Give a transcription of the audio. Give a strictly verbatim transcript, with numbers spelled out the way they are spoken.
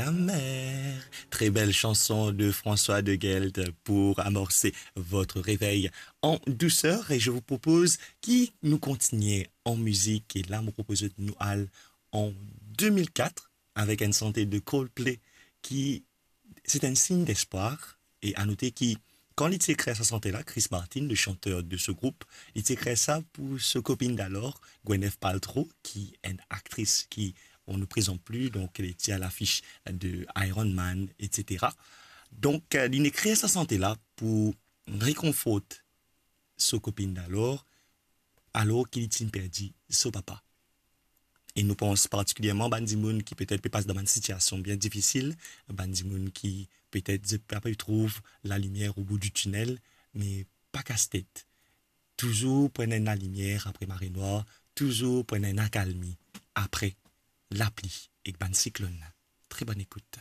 La mer. Très belle chanson de François de Gelt pour amorcer votre réveil en douceur. Et je vous propose ki nou kontinie an mizik. E la, mo propoz nou al an deux mille quatre avec une chanson de Coldplay qui c'est un signe d'espoir. E a note ki, kan li ti ekrir sa sante la, Chris Martin, le chanteur de ce groupe, li ti ekrir sa pour so kopinn d'alor, Gwyneth Paltrow, ki enn aktris ki on ne présente plus, donc elle était à l'affiche de Iron Man, et cetera. Donk, euh, li ekrir sa sante la pour rekonfort so kopinn d'alor, alor ki li ti perdi so papa. E nou pans partikilierman bann dimoun ki petet pe pas dan bann sitiasion bien difisil, bann dimoun ki petet zot pa pe trouv lalimier o bout di tinel, me pa kas tet. Touzour pran enn lalimier apre mare nwar, touzour pran enn akalmi apre lapli ek bann siklonn. Très bonne écoute.